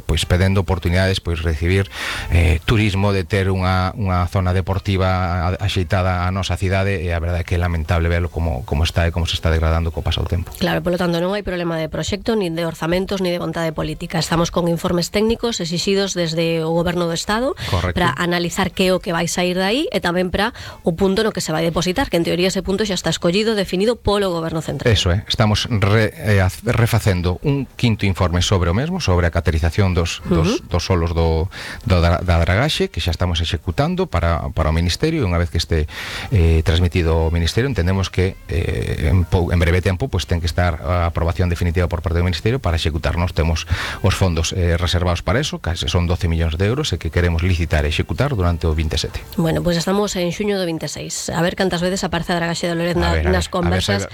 pois pedendo oportunidades, pois recibir turismo, de ter unha zona deportiva axeitada a nosa cidade, e a verdade é que é lamentable verlo como está e como se está degradando co paso do tempo. Claro, polo tanto non hai problema de proxecto, nin de orzamentos, nin de vontade política. Estamos con informes técnicos exixidos desde o Goberno do Estado. Correcto. Para analizar que é o que vai sair dai e tamén para o punto no que se vai depositar, que en teoría ese punto xa está escollido, definido polo Goberno Central. Eso é, estamos refacendo un quinto informe sobre o mesmo, sobre a caterización dos solos da dragaxe, que xa estamos executando para o Ministerio, e unha vez que este transmitido ao Ministerio, entendemos que en breve tempo pues ten que estar a aprobación definitiva por parte do Ministerio para executarnos. Temos os fondos reservados para eso, case son 12 millóns de euros, e que queremos licitar e executar durante o 27. Bueno, pues estamos en xuño do 26. A ver cantas veces aparece a dragaxe de Lorez nas conversas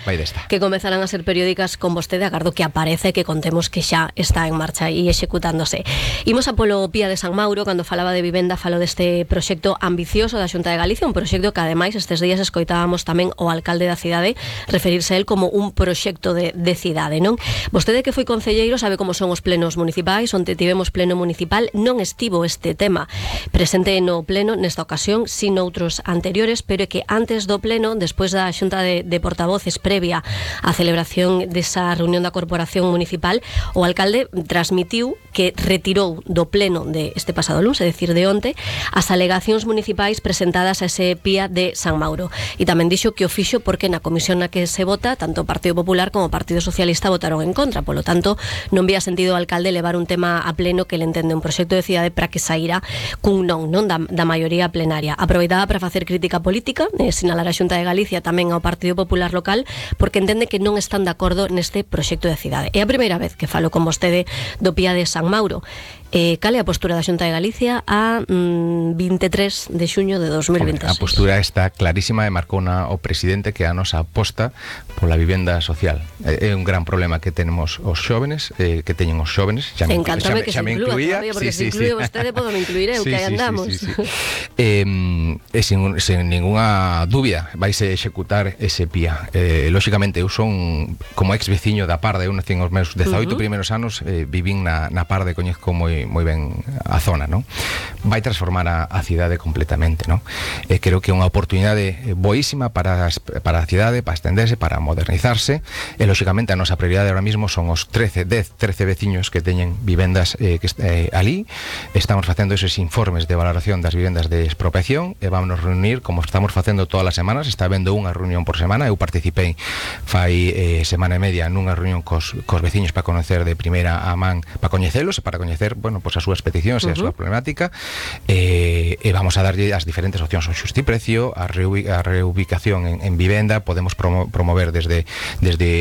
que comezarán a ser periódicas con vostede. Agardo que aparece, que contemos que xa está en marcha e executándose. Imos a polo Pía de San Mauro. Cando falaba de vivenda, falo deste proxecto ambicioso da Xunta de Galicia, un proxecto que ademais estes días escoitábamos tamén o alcalde da cidade referirse a él como un proxecto de cidade, non? Vostede, que foi concelleiro, sabe como son os plenos municipais. Onte tivemos pleno municipal, non estivo este tema presente no pleno nesta ocasión, sin outros anteriores, pero é que antes do pleno, despois da xunta de portavoces previa á celebración desa reunión da corporación municipal, o alcalde transmitiu que retirou do pleno de este pasado luns, é dicir, de onte, as alegacións municipais presentadas a ese Pía de San Mauro, e tamén dixo que o fixo porque na comisión na que se vota, tanto o Partido Popular como o Partido Socialista votaron en contra. Polo tanto, non vía sentido o alcalde levar un tema a pleno que le entende un proxecto de cidade para que saíra cun non da maioría plenaria. Aproveitaba para facer crítica política, sinalar a Xunta de Galicia, tamén ao Partido Popular local, porque entende que non están de acordo neste proxecto de cidade. É a primeira vez que falo con vostede do Pía de San Mauro. Cal é a postura da Xunta de Galicia a 23 de xuño de 2026? A postura está clarísima, e marcou o presidente que a nosa aposta pola vivenda social. É un gran problema que tenemos os xóvenes, que teñen os xóvenes. Encántame que se inclúa, porque se inclúe vostede, podo me incluir eu, que aí andamos. Sen ninguna dúbida vaise executar ese Pía. Lóxicamente, eu son como ex veciño da Parde. Eu nací os meus 18 primeiros anos, vivín na Parde, coñezco moi ben a zona, non? Vai transformar a cidade completamente, non? Creo que é unha oportunidade boísima para a cidade, para estenderse, para modernizarse, e lóxicamente a nosa prioridade ahora mismo son os 13 veciños que teñen vivendas ali. Estamos facendo esos informes de valoración das vivendas de expropiación, e vamos reunir, como estamos facendo todas as semanas. Está habendo unha reunión por semana. Eu participei fai semana e media nunha reunión cos veciños para conocer de primeira a man, para coñecelos e para coñecer, pues as súas peticións e a súa problemática, e vamos a darlle as diferentes opcións, o xustiprecio, a reubicación en vivenda. Podemos promover desde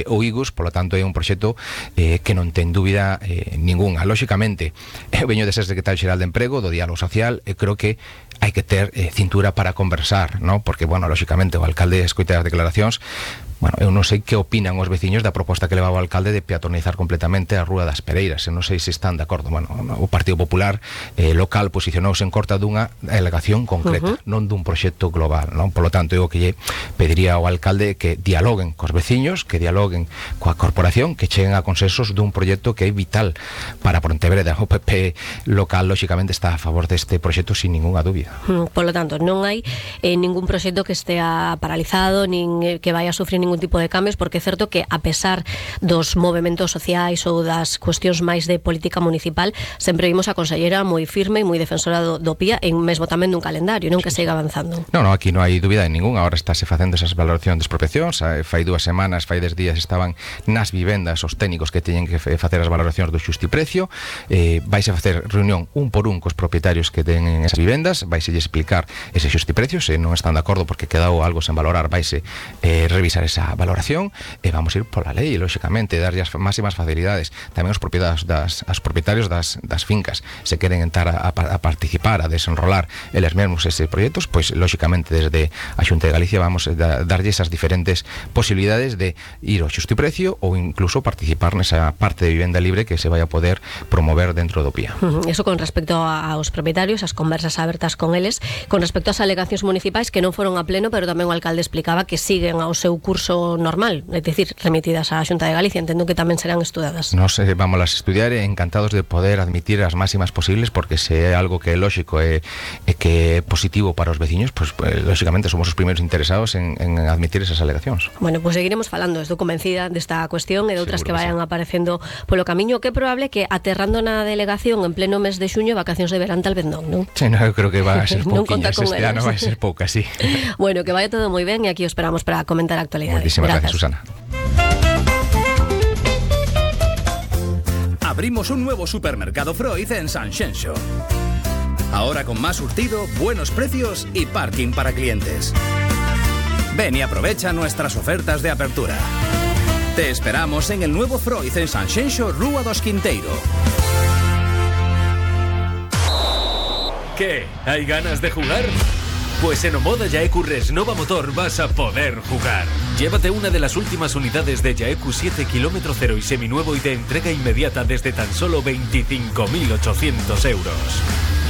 o IGUS. Polo tanto, é un proxecto que non ten dúbida ninguna. Lóxicamente, eu veño de ser secretario xeral de Emprego, do Diálogo Social, e creo que hai que ter cintura para conversar, ¿no? Porque, bueno, lóxicamente o alcalde escoita as declaracións. Bueno, eu non sei que opinan os veciños da proposta que levaba o alcalde de peatonizar completamente a Rúa das Pereiras. Eu non sei se están de acordo. Bueno, o Partido Popular local posicionouse en contra dunha alegación concreta, non dun proxecto global, non? Por lo tanto, eu que lle pediría ao alcalde que dialoguen cos veciños, que dialoguen coa corporación, que cheguen a consensos dun proxecto que é vital para Pontevedra. O PP local, lóxicamente, está a favor deste proxecto sin ninguna dúbida. Por lo tanto, non hai ningún proxecto que estea paralizado, nin que vaya a sufrir ningún tipo de cambios, porque é certo que, a pesar dos movementos sociais ou das cuestións máis de política municipal, sempre vimos a consellera moi firme e moi defensora do Pía, e mesmo tamén dun calendario, non, que siga avanzando. Non, aquí non hai dúbida de ningún. Agora estáse facendo esas valoracións de expropiacións. Fai 2 semanas, fai 10 días estaban nas vivendas os técnicos que teñen que facer as valoracións do xustiprecio. Vaise a facer reunión un por un cos propietarios que teñen esas vivendas, vaise explicar ese xustiprecio. Se non están de acordo porque quedou algo sen valorar, vaise revisar esa valoración, e vamos a ir pola lei, lóxicamente, darlle as máximas facilidades. Tamén os propietarios das fincas, se queren entrar a participar, a desenrolar eles mesmos ese proxectos, pois lóxicamente desde a Xunta de Galicia vamos a darlle esas diferentes posibilidades de ir ao xustiprecio ou incluso participar nesa parte de vivenda libre que se vai a poder promover dentro do Pía. Eso con respecto aos propietarios, as conversas abertas con eles. Con respecto ás alegacións municipais que non foron a pleno, pero tamén o alcalde explicaba que siguen ao seu curso normal, é dicir, remitidas á Xunta de Galicia. Entendo que tamén serán estudadas. Nos vamos a estudiar e encantados de poder admitir as máximas posibles, porque se é algo que é lógico e que é positivo para os veciños, pues lógicamente somos os primeiros interesados en admitir esas alegacións. Bueno, pues seguiremos falando, estou convencida desta cuestión e de outras que vayan aparecendo polo camiño, que é probable que aterrando na delegación en pleno mes de xuño, vacacións de verán tal vez non, non? Sí, no, eu creo que va a ser Non conta pouquiñas, con este ano vai ser pouca, sí. Bueno, que vaya todo moi ben e aquí os esperamos para comentar a actualidade. Moitísimas gracias, Susana. Abrimos un nuevo supermercado Freud en Sanxenxo. Ahora con más surtido, buenos precios y parking para clientes. Ven y aprovecha nuestras ofertas de apertura. Te esperamos en el nuevo Freud en Sanxenxo, Rúa dos Quinteiro. ¿Qué? ¿Hay ganas de jugar? Pues en Omoda Yaeku Resnova Motor vas a poder jugar. Llévate una de las últimas unidades de Yaeku 7 km 0 y seminuevo y de entrega inmediata desde tan solo 25.800 euros.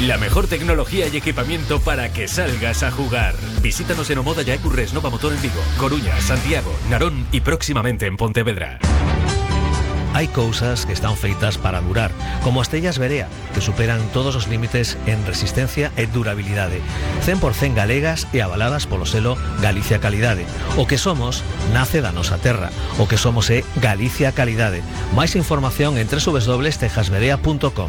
La mejor tecnología y equipamiento para que salgas a jugar. Visítanos en Omoda Yaeku Resnova Motor en Vigo, Coruña, Santiago, Narón y próximamente en Pontevedra. Hai cousas que están feitas para durar, como as tellas Berea, que superan todos os límites en resistencia e durabilidade. 100% galegas e avaladas polo selo Galicia Calidade. O que somos nace da nosa terra. O que somos é Galicia Calidade. Máis información en www.tejasberea.com.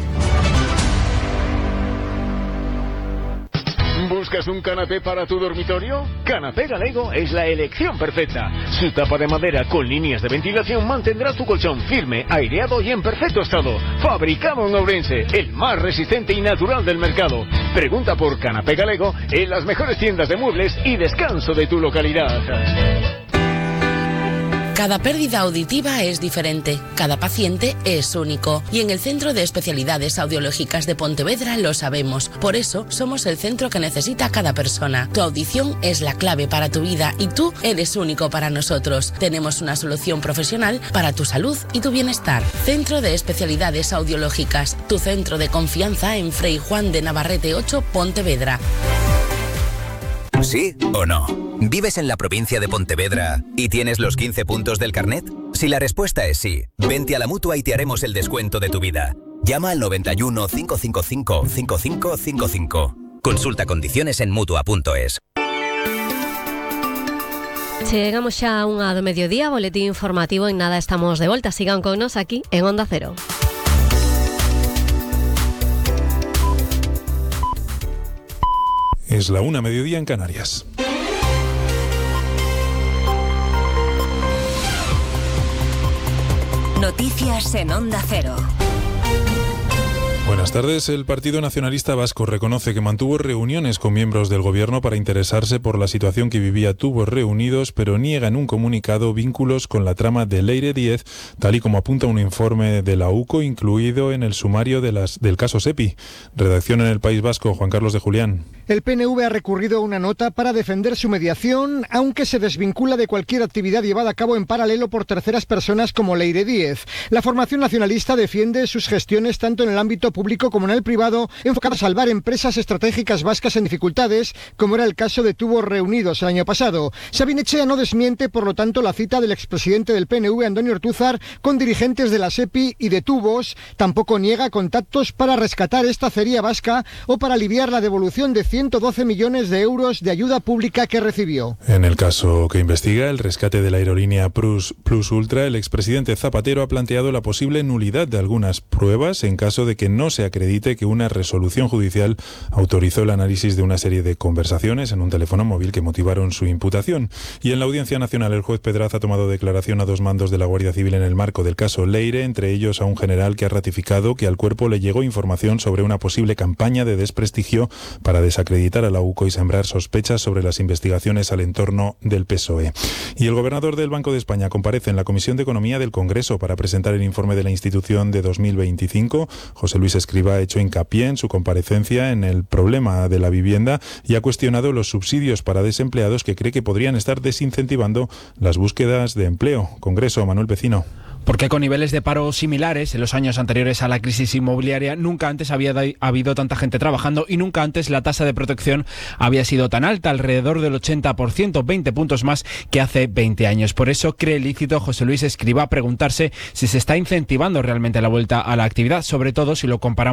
¿Buscas un canapé para tu dormitorio? Canapé Galego es la elección perfecta. Su tapa de madera con líneas de ventilación mantendrá tu colchón firme, aireado y en perfecto estado. Fabricado en Ourense, el más resistente y natural del mercado. Pregunta por Canapé Galego en las mejores tiendas de muebles y descanso de tu localidad. Cada pérdida auditiva es diferente, cada paciente es único. Y en el Centro de Especialidades Audiológicas de Pontevedra lo sabemos. Por eso somos el centro que necesita cada persona. Tu audición es la clave para tu vida y tú eres único para nosotros. Tenemos una solución profesional para tu salud y tu bienestar. Centro de Especialidades Audiológicas, tu centro de confianza en Frei Juan de Navarrete 8, Pontevedra. ¿Sí o no? ¿Vives en la provincia de Pontevedra y tienes los 15 puntos del carnet? Si la respuesta es sí, vente a la Mutua y te haremos el descuento de tu vida. Llama al 91 555 5555. Consulta condiciones en Mutua.es. Chegamos xa a unha do mediodía, boletín informativo, en nada estamos de volta. Sigan con nos aquí en Onda Cero. Es la 1:00 mediodía en Canarias. Noticias en Onda Cero. Buenas tardes. El Partido Nacionalista Vasco reconoce que mantuvo reuniones con miembros del gobierno para interesarse por la situación que vivía Tubos Reunidos, pero niega en un comunicado vínculos con la trama de Leire 10, tal y como apunta un informe de la UCO incluido en el sumario del caso SEPI. Redacción en el País Vasco, Juan Carlos de Julián. El PNV ha recurrido a una nota para defender su mediación, aunque se desvincula de cualquier actividad llevada a cabo en paralelo por terceras personas como Leire 10. La formación nacionalista defiende sus gestiones tanto en el ámbito público como en el privado, enfocadas a salvar empresas estratégicas vascas en dificultades, como era el caso de Tubos Reunidos el año pasado. Sabin Echea no desmiente, por lo tanto, la cita del expresidente del PNV, Antonio Ortúzar, con dirigentes de la SEPI y de Tubos. Tampoco niega contactos para rescatar esta acería vasca o para aliviar la devolución de 112 millones de euros de ayuda pública que recibió. En el caso que investiga el rescate de la aerolínea Plus Ultra, el expresidente Zapatero ha planteado la posible nulidad de algunas pruebas en caso de que no se acredite que una resolución judicial autorizó el análisis de una serie de conversaciones en un teléfono móvil que motivaron su imputación. Y en la Audiencia Nacional, el juez Pedraz ha tomado declaración a dos mandos de la Guardia Civil en el marco del caso Leire, entre ellos a un general que ha ratificado que al cuerpo le llegó información sobre una posible campaña de desprestigio para desacreditar a la UCO y sembrar sospechas sobre las investigaciones al entorno del PSOE. Y el gobernador del Banco de España comparece en la Comisión de Economía del Congreso para presentar el informe de la institución de 2025. José Luis Escrivá ha hecho hincapié en su comparecencia en el problema de la vivienda y ha cuestionado los subsidios para desempleados que cree que podrían estar desincentivando las búsquedas de empleo. Congreso, Manuel Pecino. Porque con niveles de paro similares en los años anteriores a la crisis inmobiliaria, nunca antes había habido tanta gente trabajando y nunca antes la tasa de protección había sido tan alta, alrededor del 80%, 20 puntos más que hace 20 años. Por eso cree lícito José Luis Escrivá preguntarse si se está incentivando realmente la vuelta a la actividad, sobre todo si lo comparamos